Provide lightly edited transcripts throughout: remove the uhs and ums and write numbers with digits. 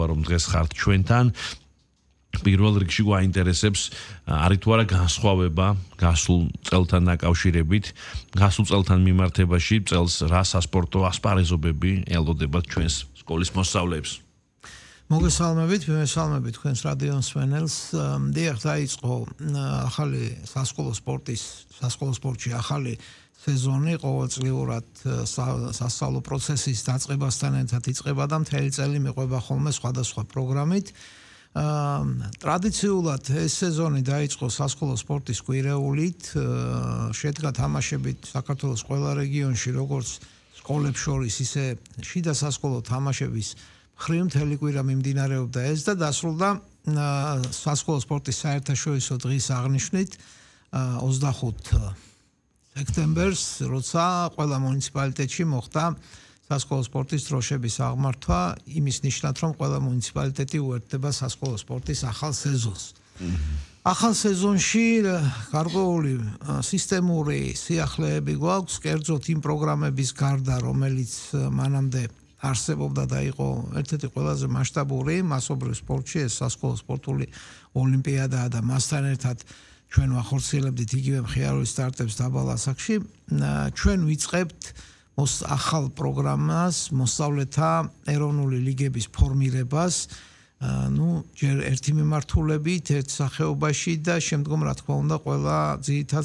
რომ დღეს ხართ ჩვენთან. პირველ რიგში გვაინტერესებს არის თუ არა განსხვავება გასულ წელთან დაკავშირებით, გასულ წელთან მიმართებაში წელს რა სასპორტო ასპარეზობები ელოდებათ ჩვენს სკოლის მოსწავლეებს. მოგესალმებით, მესალმებით თქვენს რადიო მსმენელს. დიახ, დაიწყო ახალი სასკოლო სპორტში ახალი სეზონი ყოველწლიურად სასწავლო პროცესის დაწყებასთან ერთად იწყება და მთელი წელი მიყვება ხოლმე სხვადასხვა პროგრამით. ტრადიციულად ეს სეზონი დაიწყო სასკოლო სპორტის კვირეულით, შედგა თამაშებით საქართველოს ყველა რეგიონში, როგორც სკოლებს შორის, ისე შიდა სასკოლო თამაშების მხრივ მთელი კვირა მიმდინარეობდა ეს და დასრულდა სასკოლო სპორტის საერთაშორისო დღის აღნიშვნით 25 სექტემბერს, როცა ყველა მუნიციპალიტეტში მოხდა სასკოლო სპორტის დროშების აღმართვა, იმის ნიშნად, რომ ყველა მუნიციპალიტეტი უერთდება სასკოლო სპორტის ახალ სეზონს. ახალ სეზონში გარკვეული სისტემური სიახლეები გვაქვს, კერძოდ იმ პროგრამების გარდა, რომელიც მანამდე არსებობდა და იყო ერთ-ერთი ყველაზე მასშტაბური მასობრივ სპორტში, ეს სასკოლო სპორტული ოლიმპიადაა და მასთან ერთად ჩვენ ვახორციელებდით იგივე მხიარული სტარტებს დაბალ ასაკში. ჩვენ ვიწყებთ ახალ პროგრამას, მოსწავლეთა ეროვნული ლიგების ფორმირებას, ჯერ ერთი მიმართულებით, ერთ სახეობაში და შემდგომ რა თქმა უნდა ყველა ძირითად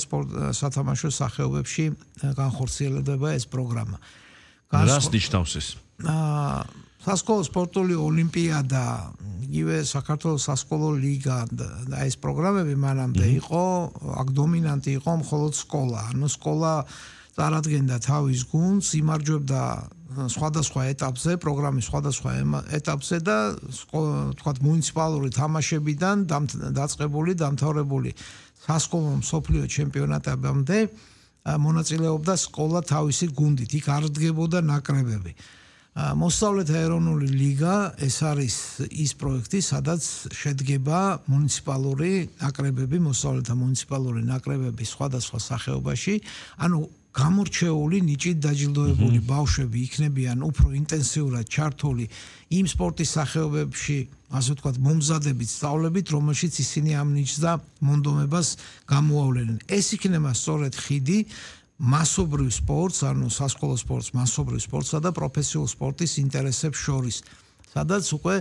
სათამაშო სახეობებში განხორციელდება ეს პროგრამა. რას ნიშნავს ეს? სასკოლო სპორტული ოლიმპიადა, იგივე საქართველოს სასკოლო ლიგა და ეს პროგრამები მანამდე იყო, აქ დომინანტი იყო მხოლოდ სკოლა. ანუ სკოლა წარადგენდა თავის გუნდს, იმარჯვებდა სხვადასხვა ეტაპზე, პროგრამის სხვადასხვა ეტაპზე და თქვათ მუნიციპალური თამაშებიდან დაწყებული, დამთავრებული სასკოლო მსოფლიო ჩემპიონატებამდე მონაწილეობდა სკოლა თავისი გუნდით, იქ არ დგებოდა ნაკრებები. მოსწავლეთა ეროვნული ლიგა ეს არის ის პროექტი, სადაც შედგება მუნიციპალური ნაკრებები, მოსწავლეთა მუნიციპალური ნაკრებები სხვადასხვა სახეობაში, ანუ გამორჩეული, ნიჭით დაჯილდოებული ბავშვები იქნებიან უფრო ინტენსიურად ჩართული იმ სპორტის სახეობებში, ასე ვთქვათ, მომზადებით, სწავლებით, რომელშიც ისინი ამ ნიჭს და მონდომებას გამოავლენენ. ეს იქნება სწორედ ხიდი მასობრივ სპორტს, ანუ სასკოლო სპორტს, მასობრივ სპორტსა და პროფესიულ სპორტის ინტერესებს შორის, სადაც უკვე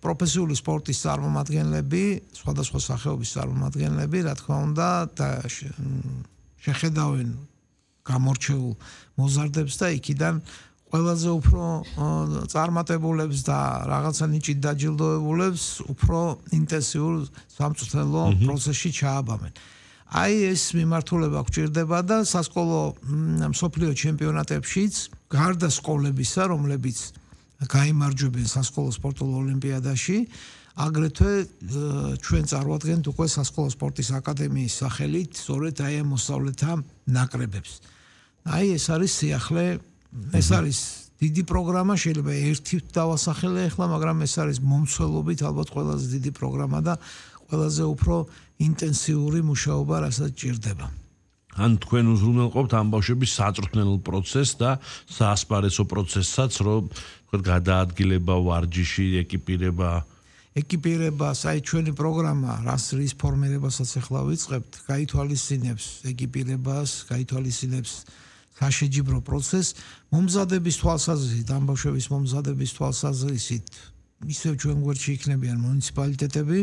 პროფესიული სპორტის წარმომადგენლები, სხვადასხვა სახეობის წარმომადგენლები, რა თქმა უნდა, შეხედავენ გამორჩეულ მოზარდებს და იქიდან ყველაზე უფრო წარმატებულებს და რაღაცა ნიჭით დაჯილდოებულებს უფრო ინტენსიურ სამწვრთნელო პროცესში ჩააბამენ. აი ეს მიმართულება გვჭირდება და სასკოლო მსოფლიო ჩემპიონატებშიც გარდა სკოლებისა, რომლებიც გაიმარჯვებენ სასკოლო სპორტულ ოლიმპიადაში, აგრეთვე ჩვენ წარმოადგენთ უკვე სასკოლო სპორტის აკადემიის სახელით სწორედ აი ამ მოსწავლეთა ნაკრებებს. აი ეს არის სიახლე, ეს არის დიდი პროგრამა, შეიძლება ერთით დავასახელე ახლა, მაგრამ ეს არის მომცველობით ალბათ ყველაზე დიდი პროგრამა და ყველაზე უფრო ინტენსიური მუშაობა, რასაც ჭირდება. ან თქვენ უზრუნველყოფთ ამ ბავშვების საწვრთნელო პროცესს და საასპარეზო პროცესსაც, რომ თქვენ გადაადგილება, ვარჯიში, ეკიპირება, აი ჩვენი პროგრამა, რის ფორმირებასაც ახლა ვიწყებთ, გაითვალისწინებს ეკიპირებას, გაითვალისწინებს საშეჯიბრო პროცესს, მომზადების თვალსაზრისით, ამ ბავშვების მომზადების თვალსაზრისით ისევ ჩვენ გვერდში იქნებიან მუნიციპალიტეტები,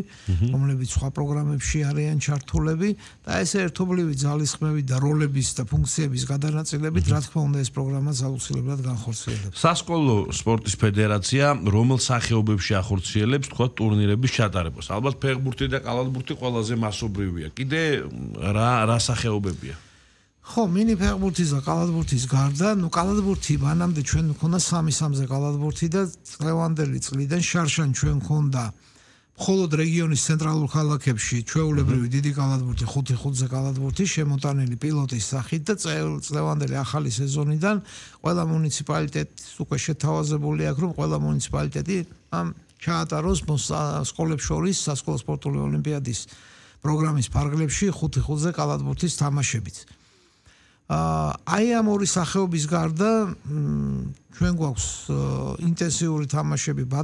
რომლებიც სხვა პროგრამებში არიან ჩართულები და ეს ერთობლივი ძალისხმევით და როლების და ფუნქციების გადანაწილებით, რა თქმა უნდა, ეს პროგრამაც აუცილებლად განხორციელდება. სასკოლო სპორტის ფედერაცია რომელ სახეობებში ახორციელებს, თქვა, ტურნირების ჩატარებას? ალბათ ფეხბურთი და კალათბურთი ყველაზე მასობრივია. კიდე რა სახეობებია? ხო, მინი ფეხბურთის და კალათბურთის გარდა, კალათბურთი მანამდე ჩვენ მქონდა 3-3-ზე კალათბურთი და წლევანდელი წლიდან შარშან ჩვენ მქონდა მხოლოდ რეგიონის ცენტრალურ ქალაქებში ჩვეულებრივი დიდი კალათბურთი, 5-5-ზე კალათბურთი შემოტანილი პილოტის სახით და წლევანდელი ახალი სეზონიდან ყველა მუნიციპალიტეტს უკვე შეთავაზებული აქვს, რომ ყველა მუნიციპალიტეტი ჩაატაროს სკოლებს შორის სასკოლო სპორტული ოლიმპიადის პროგრამის ფარგლებში 5-5-ზე კალათბურთის თამაშებიც. აი ამ ორი სახეობის გარდა ჩვენ გვაქვს ინტენსიური თამაშები